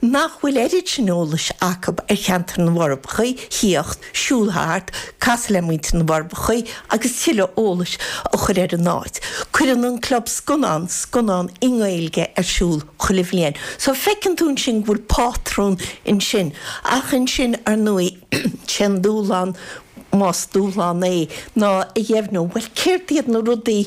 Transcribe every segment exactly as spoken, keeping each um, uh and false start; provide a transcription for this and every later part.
Nach bhfuil oiread sin eolais acu ar cheantar na bhForbacha, thíocht, siúl thart, casadh le muintir na bhForbacha agus tuilleadh eolais a chur ar an áit. Cuireann an Club Scannán scannán i nGaeilge ar siúl chuile bhliain. So feiceann tú ansin go bhfuil pátrún ansin. Ach ansin, ar ndóigh, sé an dúshlán, más dúshlán é, ná a dheimhniú, bhuel, céard iad na rudaí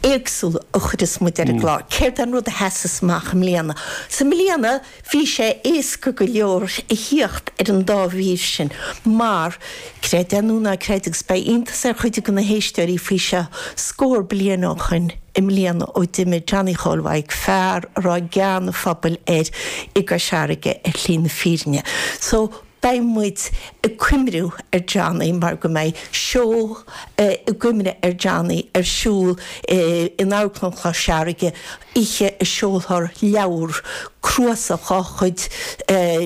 éagsúla a chuireas muid ar an gclár. Céard é an rud a sheasas amach i mbliana? So i mbliana bhí sé éasca go leor a thíocht ar an dá mhír sin mar, creid é nó ná creid, agus beidh iontas ar chuid de na héisteoirí faoi seo, scór bliain ó shoin i mbliana ó d'imigh Johnny Chóil Mhaidhc, fear a raibh gean an phobail air i gCois Fharraige ar shlí na fírinne. So beidh muid ag cuimhniú ar Johnny mar go mbeidh seó i gcuimhne ar Johnny ar siúl in Amharclann Chois Fharraige oíche a seolfar leabhar, cnuasach dá chuid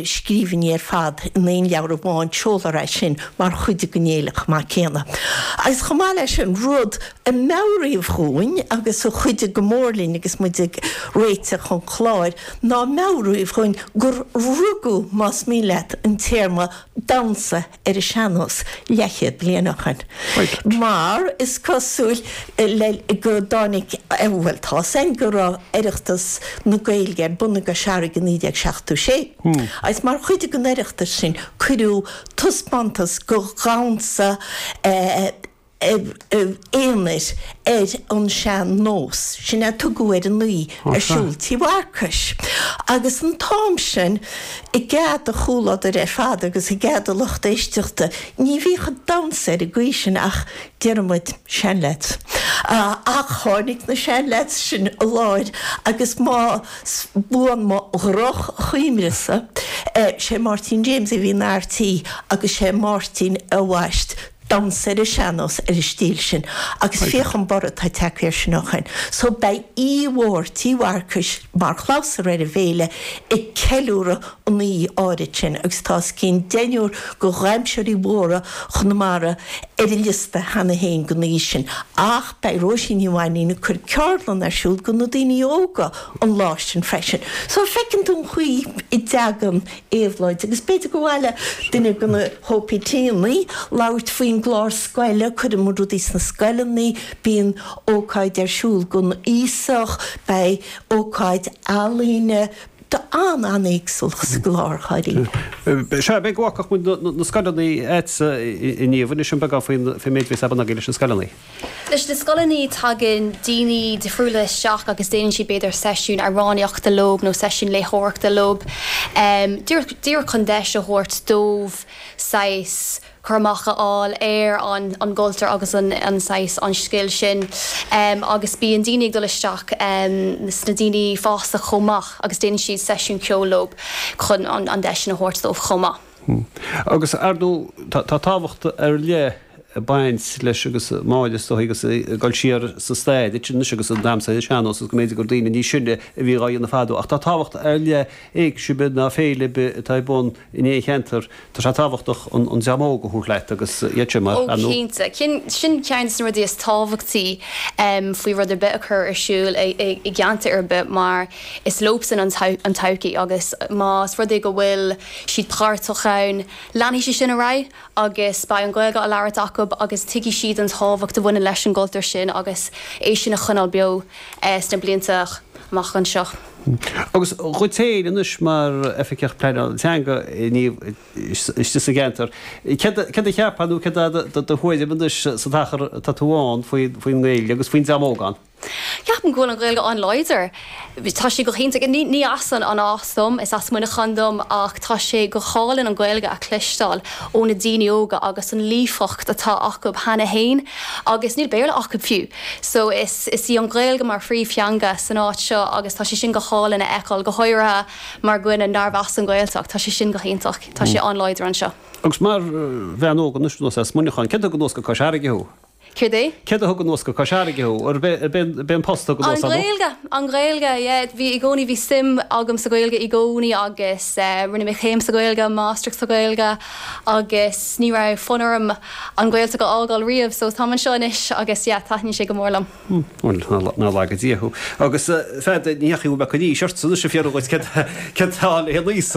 scríbhinní ar fad in aon leabhar amháin, seolfar é sin mar chuid den fhéile chomh maith céanna. Agus chomh maith leis sin, rud a meabhraíodh dhúinn agus a chuidigh go mór linn agus muid ag réiteach an chláir ná meabhraíodh dhúinn gur rugadh, más mian leat, an téarma 'damhsa ar an sean-nós' leathchéad bliain ó shoin. Mar is cosúil le go dtáinig, bhuel tá's againn go raibh Oireachtas na Gaeilge ar bun i gCois Fharraige i naoi déag seachtó sé agus mar chuid den Oireachtas sin cuireadh taispeántas de dhamhsa aonair ar an sean-nós, sin a tugadh ar an oíche, ar siúl Tí Mharcais. Agus an t-am sin, i gcead do chomhluadair ar fad agus i gcead do lucht éisteachta, ní bhíodh ag damhsa ar an gcaoi sin ach, déarfaidh muid, seanleaids. Ach tháinig na seanleaids sin i láthair agus más buan mo dhroch-chuimhne-sa, sé Máirtín James a bhí ina fhear tí agus sé Máirtín a bhaist damhsa ar an sean-nós ar an stíl sin agus féach an borradh atá tagtha air sin ó shoin. So beidh oíche mhór Tí Mharcais mar chlabhsúr ar an bhféile ag ceiliúradh an oíche áirid sin agus tá os cionn deichniúr de dhamhsóirí mhóra Chonamara ar an liosta cheana féin don oíche sin. Ach beidh Róisín Ní Mhainín ag cur ceardlann ar siúl do na daoine óga an lá sin freisin. So feiceann tú an chaoi a dtagann éabhlóid agus b'fhéidir gur mhaith le duine de na hOPTanna labhairt faoin gclár scoile, cuireann muid rudaí sna scoileanna, bíonn ócáid ar siúl don aosach, beidh ócáid ealaíne, tá an-an-éagsúlacht sa gclár dháiríre. Sea, b'fhéidir go bhfágfadh muid na scoileanna agatsa a Niamh, inis dúinn beagán faoin méid a bhíos ar bun agaibh leis na scoileanna. Leis na scoileanna tagann daoine difriúla isteach agus déanann siad b'fhéidir seisiún amhránaíochta leo nó seisiún léitheoireachta leo, díreach chun deis a thabhairt dóibh saghas cur amach a fháil ar an gcultúr agus an saghas an scil sin agus bíonn daoine ag dul isteach sna daoine fásta chomh maith agus déanann siad seisiún ceoil leo chun an deis sin a thabhairt dóibh chomh maith. Agus ar ndóigh tá tábhacht ar leith ag baint leis agus Máire is dóigh agus ag dul siar sa stair duit anois agus an damhsa ar an sean-nós agus go mb'fhéidir gur daoine níos sine a bhí dhá dhéanamh fadó ach tá tábhacht ar leith éigse ar bith ná féile ar bith atá ar bun in aon cheantar tá sé tábhachtach an an dream óg a thabhairt leat agus iad sin mar Ó cinnte, sin ceann de na rudaí is tábhachtaí faoi rud ar bith a chur ar siúl i gceantar ar bith mar is leosan an todhchaí agus más rud é go bhfuil siad páirteach ann leanfaidh sé sin ar aghaidh agus beidh an Ghaeilge á labhairt acu agus tuigfidh siad an tábhacht a bhaineann leis an gcultúr sin agus é sin a choinneáil beo sna blianta amach anseo. Agus dhuit féin anois mar Oifigeach Pleanála Teanga istigh sa gceantar, céard a cheapfá nó céard é do thuairim anois sa t-achar atá tú ann faoin nGaeilge agus faoin dream óg ann? Ceapaim go bhfuil an Ghaeilge an-láidir. Tá sé go hiontach. Ní as an áit dom, is as Muineachán dom ach tá sé go hálainn an Ghaeilge a chloisteáil ó na daoine óga agus an líofacht atá acu cheana féin agus níl Béarla acu fiú. So is is í an Ghaeilge mar phríomhtheanga san áit seo agus tá sé sin go hálainn a fheiceáil, go háirithe mar dhuine nárbh as an Ghaeltacht. Tá sé sin go hiontach. Tá sé an-láidir anseo. Agus mar bhean óg anois as Muineachán, cén tuige anuas go Cois Fharraige thú? Céard é? Céard a thug anuas go Cois Fharraige thú? Ar b'é an post a thug anuas An Ghaeilge, an Ghaeilge, yeah. Bhí i gcónaí bhí suim agam sa Ghaeilge i gcónaí agus eh, rinne mé céim sa Ghaeilge, máistreacht sa Ghaeilge agus ní raibh fonn orm an Ghaeltacht a fhágáil riamh, so táim anseo anois agus yeah, taitníonn sé go mór liom. Bhuel, ná laga Dia thú. Agus feadh ní dheachaigh mé go dtí seort san is fiafraí dhuit céard céard atá le haon aois.